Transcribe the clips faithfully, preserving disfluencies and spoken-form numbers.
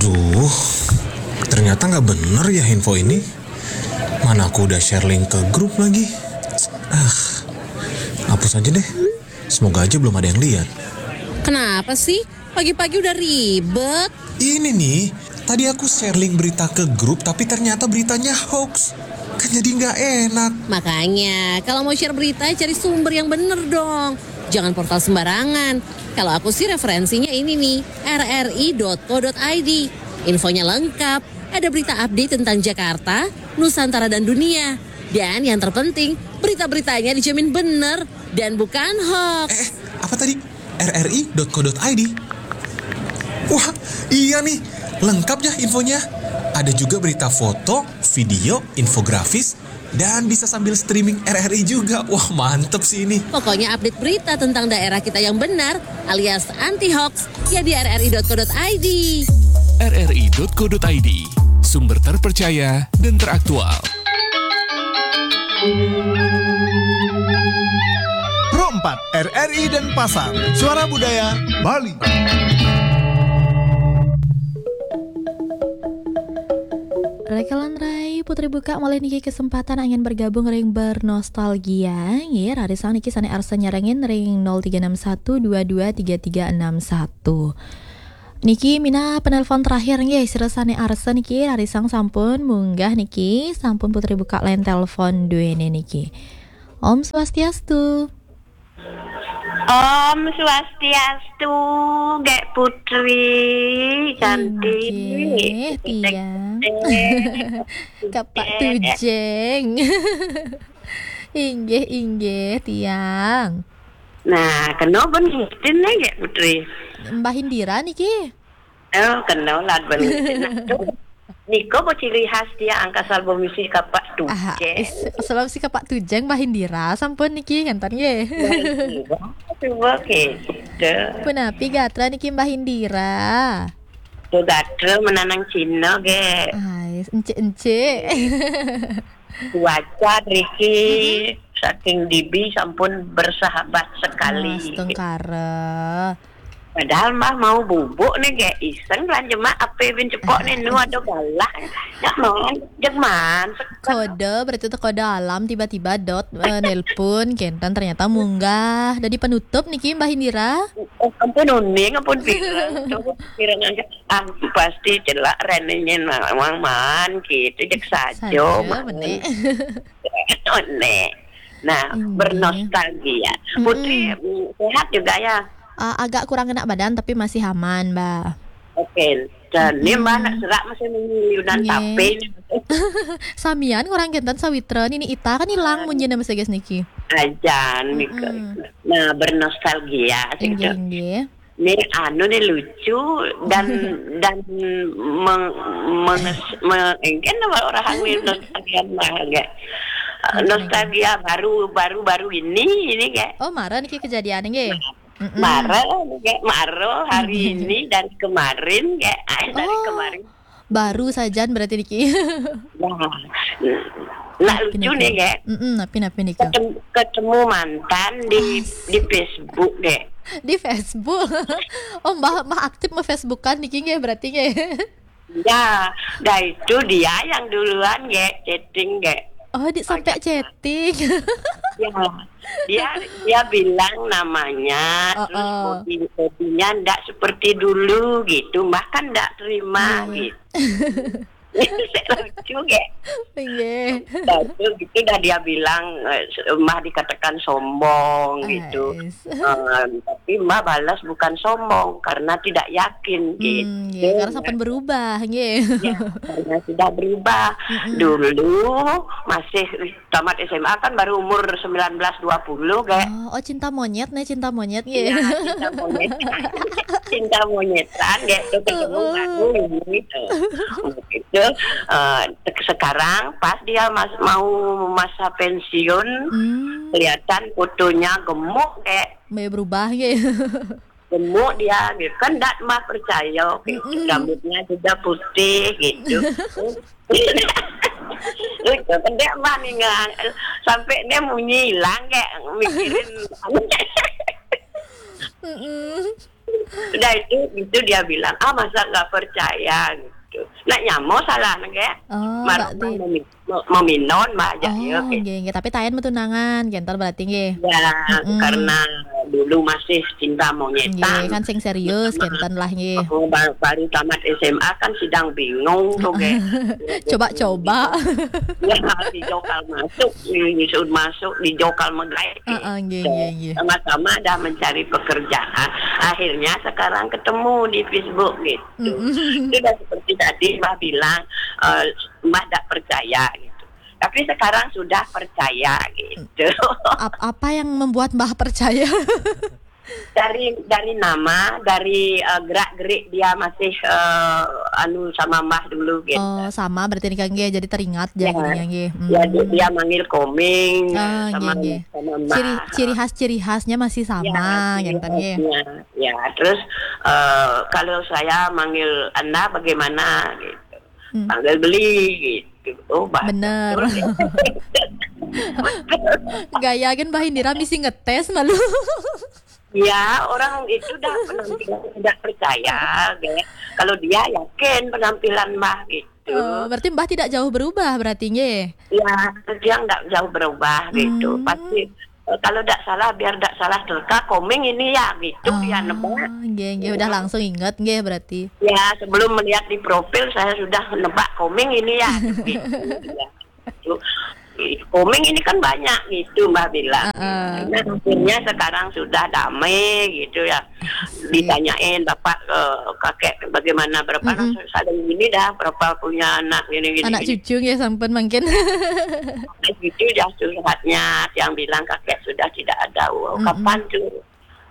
Duh, ternyata nggak bener ya info ini. Mana aku udah share link ke grup lagi. Ah, hapus aja deh. Semoga aja belum ada yang lihat. Kenapa sih? Pagi-pagi udah ribet. Ini nih, tadi aku share link berita ke grup, tapi ternyata beritanya hoax. Kan jadi nggak enak. Makanya, kalau mau share berita, cari sumber yang bener dong. Jangan portal sembarangan. Kalau aku sih referensinya ini nih, R R I dot co dot I D. Infonya lengkap, ada berita update tentang Jakarta, Nusantara dan dunia. Dan yang terpenting, berita-beritanya dijamin bener dan bukan hoax. Eh, apa tadi? R R I dot co dot I D. Wah, iya nih, lengkap ya infonya. Ada juga berita foto, video, infografis, dan bisa sambil streaming R R I juga. Wah, mantep sih ini. Pokoknya update berita tentang daerah kita yang benar alias anti hoax ya di R R I dot co dot I D. R R I dot co dot I D, sumber terpercaya dan teraktual. Pro empat, R R I Denpasar, Suara Budaya Bali. Rekelan Rai Putri Buka malih niki kesempatan angin bergabung ring bernostalgia. Nggih, rarisang niki sane arsa nyarengin ring nol tiga enam satu dua dua tiga tiga enam satu. Niki minangka penelpon terakhir nggih, sira sane arsa niki rarisang sampun munggah niki, sampun Putri Buka line telepon duene niki. Om Swastiastu. Om Swastiastu, Gek Putri, cantik. Inggih, tiang. Kapak tujeng. Inggih, inggih, tiang. Nah, kena ben ngitin nih, Gek Putri. Mbah Indira niki. Oh, kena lah ben ngitin. Nah, tu. Nika apa ciri khas dia angkasal bemisi kapak Ah, tujeng. is- sebab si kapak tujeng Mbah Indira sampun niki ngenten nggih. Cuba kita. Punapi gatra niki Mbah Indira. Tu gatra menanang Cina, Gek. Hai, encik-encik. Cuaca riki saking dibi sampun bersahabat sekali. Astungkara. Padahal Mbah mau bubuk nih, Gek, iseng belanja mak apa bin cepok nih nu ada galah. Jek man, jek man. Kode berarti itu kode alam, tiba-tiba dot eh, nelpon kenten, ternyata munggah. Dadi penutup niki Mbah Indira. Oh, ampun uning, ampun pirang. Coba pirang aja. Ah, pasti celak renenya nawang man gitu, jek saja Saja man. Menek. Nek. Nah, Inggih. Bernostalgia. Putri mm, sehat juga ya? Ah, agak kurang enak badan tapi masih aman, Mbak. Oke. Dan ini Mbak nak serak masih menyuyunan Nggih. tape ini. Samian orang kenten sawitra nini ita kan hilang munyi nama seges niki. Ajan Mika. Nah, bernostalgia sih. Inggih, inggih. Ini anu nih lucu dan dan meng, menges, me, engken nama orang hamil nostalgia mah, Gek. Nostalgia baru baru baru ini ini, Gek. Oh, mara niki kejadian nggih. Mara, Gek, mara hari ini dan kemarin, Gek. Ah, dari Oh. Kemarin. Baru sajan berarti niki. Nah, nah lucu nih, Gek. Mm-mm, napi napi niku. Ketemu, ketemu mantan di di Facebook, Gek. Di Facebook. Oh, Mbah Mbah aktif mau Facebookan niki nggih berarti nggih. Ya, dah itu dia yang duluan, Gek, chatting, Gek. Oh, di sampai chatting. Ya, dia dia bilang namanya, terus Oh, oh. body bodinya ndak seperti dulu gitu, bahkan ndak terima Iya. Gitu. Itu saya lucu, Gek. Nggih. Dah itu gitu dah dia bilang, eh, Mbah dikatakan sombong gitu. Ais. Eh, tapi Mbah balas bukan sombong karena tidak yakin gitu. Hmm, nggih, karena sampun berubah nggih. Ya, karena sudah berubah. Dulu masih tamat S M A kan baru umur sembilan belas dua puluh, Gek. Oh, oh, cinta monyet nih, cinta monyet Ya, nggih. cinta monyet. Cinta monyetan, Gek, tuh ketemu Heeh. baru ini tuh. Gitu. Eh, sekarang pas dia mas, mau masa pensiun, Hmm, kelihatan fotonya gemuk, Gek. Mbak berubah nggih. Gemuk dia gitu kan, ndak Mbah percaya gitu. Rambutnya juga putih gitu. Itu pendek Mbah nih ngang, sampai dia munyi hilang, Gek, mikirin. Mm-mm. Udah itu, itu dia bilang, "Ah, masa nggak percaya?" gitu. Nak nyamo salah nggak? Oh, Marah berarti mami-, maminon mah aja. Oh, ya, gitu. Nggih, nggih. Tapi tayan metunangan, gentar berarti nggih. Ya, mm-mm, karena dulu masih cinta monyetan. Nggih, kan sing serius, sama, gentan lah nggih. Oh, baru, baru tamat S M A kan sidang bingung tuh, nggih. Coba-coba. Ya, dijokal masuk, disuruh masuk, dijokal megai. Heeh, nggih, nggih, nggih. Sama-sama dah mencari pekerjaan. Akhirnya sekarang ketemu di Facebook gitu. Mm-mm. Sudah seperti tadi Mbah bilang, eh, Mbah tidak percaya gitu. Tapi sekarang sudah percaya gitu. Ap-, apa yang membuat Mbah percaya? Dari, dari nama, dari, eh, gerak-gerik dia masih, eh, anu sama Mbah dulu gitu. Oh, sama berarti nih, Kang, nggih. Jadi teringat ya, ya, jadinya nggih. Ya, dia, hmm, dia manggil Komeng, oh, sama, nggih, nggih, sama Mbah. Ciri, ciri khas, ciri khasnya masih sama, ya, ciri khasnya, gitu, nggih. Ya, terus, eh, kalau saya manggil Anda bagaimana gitu. Hmm. Panggil beli gitu. Oh, Mbah. Bener. Gaya kan Mbah Indira mesti ngetes malu. Ya, orang itu dah penampilan tidak percaya, kayak kalau dia yakin penampilan Mbah gitu. Oh, berarti Mbah tidak jauh berubah berarti, nggih? Ya, dia nggak jauh berubah gitu. Hmm. Pasti, eh, kalau nggak salah, biar nggak salah terka, Komeng ini ya gitu, dia nebak. Oh, nggih, nggih, udah langsung inget, nggih, berarti. Ya, sebelum melihat di profil, saya sudah nebak Komeng ini ya gitu. Ya. Gitu. Komeng ini kan banyak gitu, Mbah bilang. Heeh. Nah, akhirnya sekarang sudah damai gitu ya. Asik. Ditanyain bapak ke kakek bagaimana, berapa, mm-mm, anak, saling ini dah, berapa punya anak, gini, gini, anak gini. Cucu ya, sampun mungkin. Anak cucu dah curhatnya, yang bilang kakek sudah tidak ada. Wow, mm-mm, kapan tuh?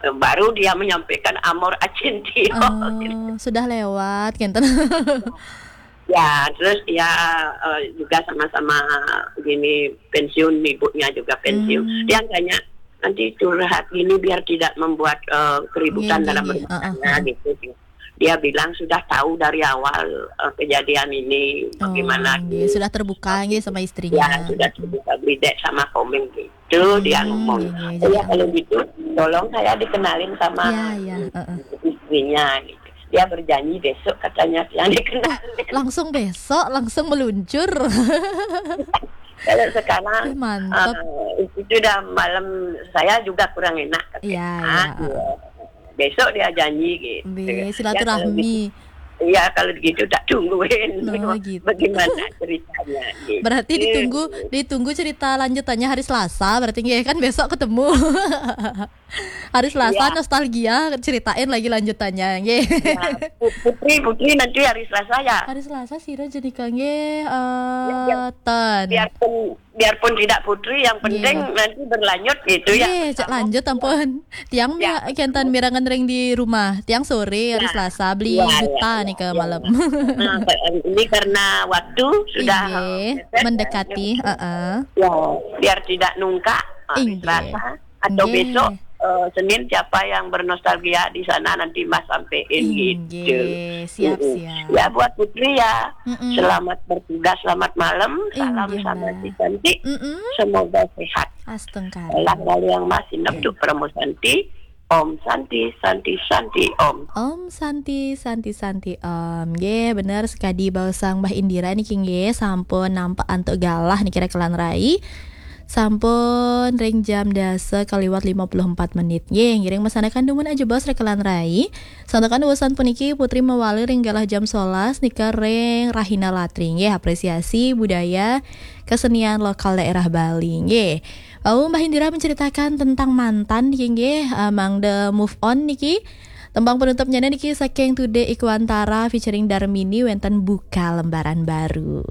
Eh, baru dia menyampaikan amor acintio. Oh, sudah lewat, gitu. Ya, terus dia, eh, juga sama-sama gini pensiun, ibunya juga pensiun. Hmm. Dia tanya, "Nanti curhat gini biar tidak membuat, eh, keributan, nggih, dalam, nggih, rumah tangga," heeh, gitu. Dia bilang sudah tahu dari awal, eh, kejadian ini, oh, bagaimana, nggih, gitu. Sudah terbuka, nggih, sama istrinya. Ya, sudah terbuka, beda sama Komeng gitu. Itu dia ngomong, hmm, iya, "Oh ya, kalau gitu, tolong saya dikenalin sama, ya, ya, heeh, istrinya," gitu. Dia berjanji besok katanya yang dikenalin. Langsung besok, langsung meluncur. Kalau sekarang, eh, mantap, eh, itu udah malam, saya juga kurang enak, katanya. Iya, iya, heeh. Besok dia janji gitu. Be, ya, silaturahmi. Kalau gitu, iya, kalau gitu tak tungguin. Oh, gitu. Bagaimana ceritanya gitu. Berarti ditunggu, ditunggu cerita lanjutannya hari Selasa, berarti nggih, kan besok ketemu. Hari Selasa, iya, nostalgia, ceritain lagi lanjutannya, nggih. Ya, Pu-, Putri, Putri nanti hari Selasa ya? Hari Selasa sira jenika nggih, eh, ya, biar, ten, biarpun biarpun tidak Putri, yang penting, iya, nanti berlanjut gitu ya. Nggih, cak lanjut ampun. Tiang, ya, mi-, kentan mirengang ring di rumah. Tiang sore hari, ya, Selasa beli, ya, ya, juta ya, nih ke, ya, malam. Nah, ini karena waktu sudah, inggih, eh, mepet, mendekati, ya, heeh. Ya, biar tidak nungkak, hari, inggih, Selasa atau, nggih, besok, eh, Senin, siapa yang bernostalgia di sana nanti Mbah sampein gitu. Inggih, siap, mm-mm, siap. Ya, buat Putri ya, mm-mm, selamat bertugas, selamat malam, salam, inggih, sama Mbah, si cantik. Mm-mm. Semoga sehat. Astungkara. Lah, lalu yang masih, oke, neptuk Promo Santi. Om Santi, Santi, Santi, Om. Om Santi, Santi, Santi, Om. Nggih, bener sekadi baosang Mbah Indira niki nggih, sampun nampak antuk galah niki rekan rai. Sampun ring jam dasa kaliwat lima puluh empat menit. Nggih, ngiring masanakan dumun aja bos rekan rai. Santakan urusan puniki Putri mawali ring galah jam sebelas nika ring Rahina Latri. Nggih, apresiasi budaya kesenian lokal daerah Bali. Nggih. Wau Mbah Indira menceritakan tentang mantan niki nggih, eh, mangda move on niki. Tembang penutupnya niki saking Tude Ikwantara featuring Darmini wenten Buka Lembaran Baru.